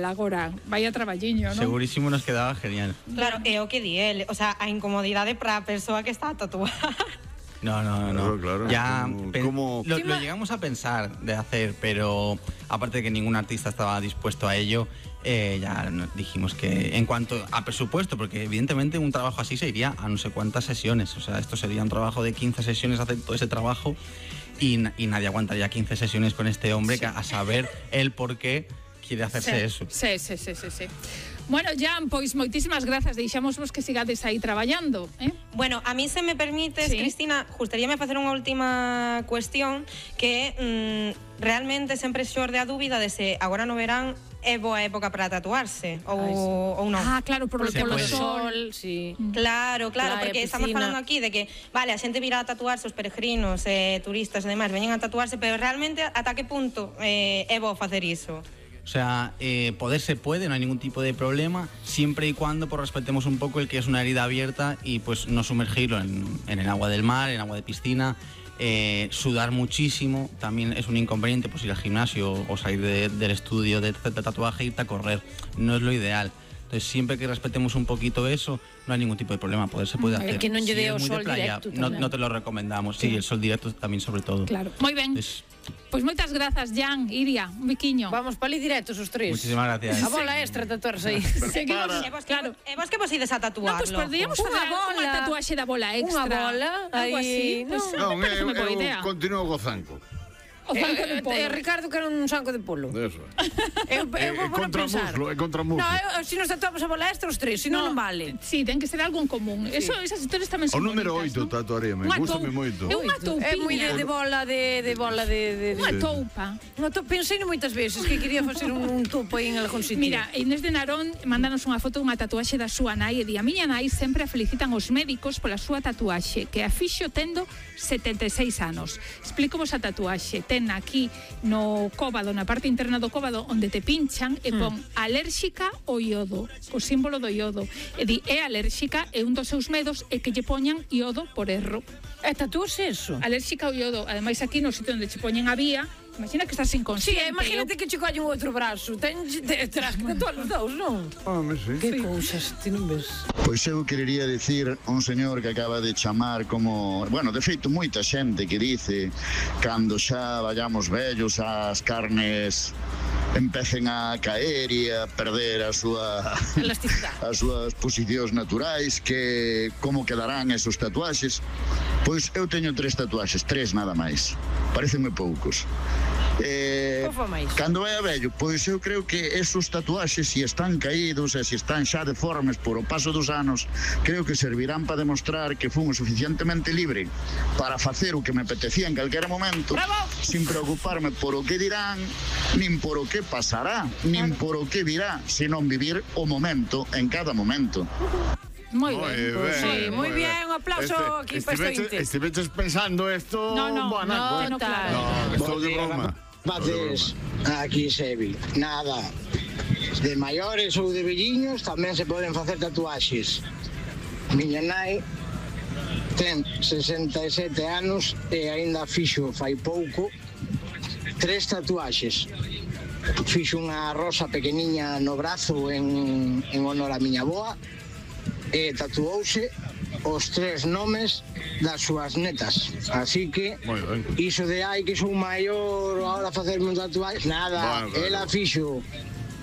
agora. Vaya traballiño, non? Segurísimo nos quedaba genial. Claro, é o que di el, o sea, a incomodidade para a persoa que está a tatuar. No. Claro. Ya ¿Cómo? lo llegamos a pensar de hacer, pero aparte de que ningún artista estaba dispuesto a ello, ya dijimos que en cuanto a presupuesto, porque evidentemente un trabajo así se iría a no sé cuántas sesiones, o sea, esto sería un trabajo de 15 sesiones, hacer todo ese trabajo y nadie aguantaría 15 sesiones con este hombre, que a saber el por qué quiere hacerse eso. Sí. Bueno, Jan, pois moitísimas grazas, deixámosvos que sigades aí traballando, Bueno, a mí se me permites, Sí. Cristina, gustaríame facer unha última cuestión que realmente sempre xorde a dúbida de se agora no verán é boa época para tatuarse ou non. Ah, claro, por Se polo puede. sol. Sí. Claro, Playa, porque estamos piscina. falando aquí de que, vale, a xente virá a tatuarse, os peregrinos, turistas e demais, veñen a tatuarse, pero realmente ata que punto é bo facer iso? O sea, poder se puede, no hay ningún tipo de problema, siempre y cuando pues, respetemos un poco el que es una herida abierta y pues no sumergirlo en el agua del mar, en agua de piscina. Sudar muchísimo también es un inconveniente, pues ir al gimnasio o salir del estudio de tatuaje e irte a correr, no es lo ideal. Entonces siempre que respetemos un poquito eso, no hay ningún tipo de problema, poder se puede hacer. Que non lle Si dé es o muy de sol playa, directo no, tamén. no te lo recomendamos, sí, el sol directo también sobre todo. Claro, moi ben. Pois moitas grazas, Jan, Iria, un biquiño. Vamos para ali directos os tres. Muchísimas gracias. A bola extra tatuarse aí. Seguimos, Claro. E vos que vos ides a tatuarlo? No, pues podríamos Unha facer bola. unha tatuaxe da bola extra. Unha bola, algo así. aí, Pues, Non, me parece unha boa idea. eu continuo go zanco. O zanco de polo. Ricardo quer un sanco de polo. Eso. Eu vou contra pensar. muslo, é contra muslo. No, se nos tatuamos a bola extra os tres, se non vale. Sí, ten que ser algo en común. Eso, esas historias tamén O son número bonitas, 8 non? tatuaríame, Unha gústame tou- moito. É unha toupiña. É moi de bola de Unha toupa. Pensei moitas veces que quería facer un topo aí en algún sitio. Mira, Inés de Narón mándanos unha foto dunha tatuaxe da súa nai e di: a miña nai sempre a felicitan os médicos pola súa tatuaxe, que a fixo tendo 76 anos. Explico vos a tatuaxe. Ten aquí no cóbado, na parte interna do cóbado, onde te pinchan e pon alérxica ao iodo, co símbolo do iodo. E di, é alérxica e un dos seus medos é que lle poñan iodo por erro. Tatúase eso? Alérxica ao iodo. Ademais, aquí no sitio onde che poñen a vía, imagina que estás Sí, inconsciente. imagínate que che colle un outro brazo. Terás que tatuar os dous, non? Sí. Que cousas, ti non ves? Pois eu querería dicir un señor que acaba de chamar como... Bueno, de feito, moita xente que dice cando xa vayamos vellos as carnes empecen a caer e a perder a súa Elasticidade. as súas posicións naturais, que como quedarán esos tatuaxes. Pois eu teño 3 tatuaxes, 3 nada máis. Parecenme poucos. Ofa máis. Cando vai a vello, pois eu creo que esos tatuaxes, se están caídos e se están xa deformes por o paso dos anos, creo que servirán para demostrar que fun o suficientemente libre para facer o que me apetecía en calquera momento. Bravo! Sin preocuparme por o que dirán, nin por o que pasará, nin por o que virá, senón vivir o momento en cada momento. Moi ben. Sí, moi bien, un aplauso aquí para este ointe. Estiveches pensando esto... No, Buanaco, no, claro. No, estou de broma. Bates, aquí Sevi, nada. De maiores ou de velliños tamén se poden facer tatuaxes. Miña nai ten 67 anos e aínda fixo fai pouco 3 tatuaxes. Fixo unha rosa pequeniña no brazo en honor a miña boa e tatuouse os 3 nomes das súas netas. Así que Moi ben. iso de ai que son maior ahora facerme un tatuaxe, nada, Bueno, ela fixo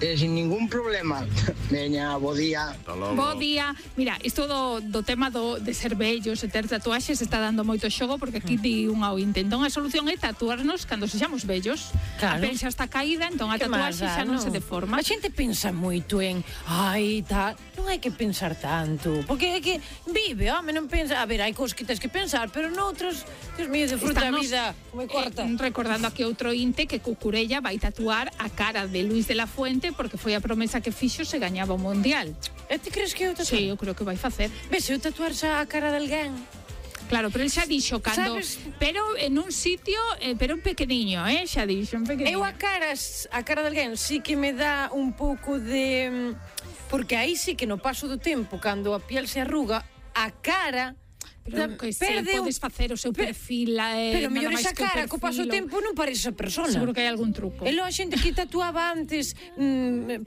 sin ningún problema. Veña, bo día. Bo día. Mira, isto do tema de ser vellos e ter tatuaxes está dando moito xogo, porque aquí di unha ointe. Entón a solución é tatuarnos cando sexamos vellos. Claro. A pel xa está caída, entón a Que tatuaxe máis xa non dá, se deforma. A xente pensa moito en ai, tal, non hai que pensar tanto, porque é que vive, home, non pensa, a ver, hai cousas que tens que pensar, pero noutros, Dios mío, disfruta a Estamos, vida, como é corta. recordando aquí outro inte que Cucurella vai tatuar a cara de Luis de la Fuente, porque foi a promesa que fixo se gañaba o Mundial. E ti crees que eu tatuar? Sí, eu creo que vai facer. Ves, eu tatuar xa a cara de alguén. Claro, pero el xa dixo cando, Sabes? pero en un sitio, pero un pequeniño, xa dixo, un pequeniño. Eu a cara de alguén sí que me dá un pouco de... Porque aí sí que no paso do tempo, cando a piel se arruga, a cara... Pero que se podes facer o seu perfil, pero nada mellor máis esa que o cara, co paso do perfil, tempo non parece esa persona. Seguro que hai algún truco. E logo a xente que tatuaba antes palabras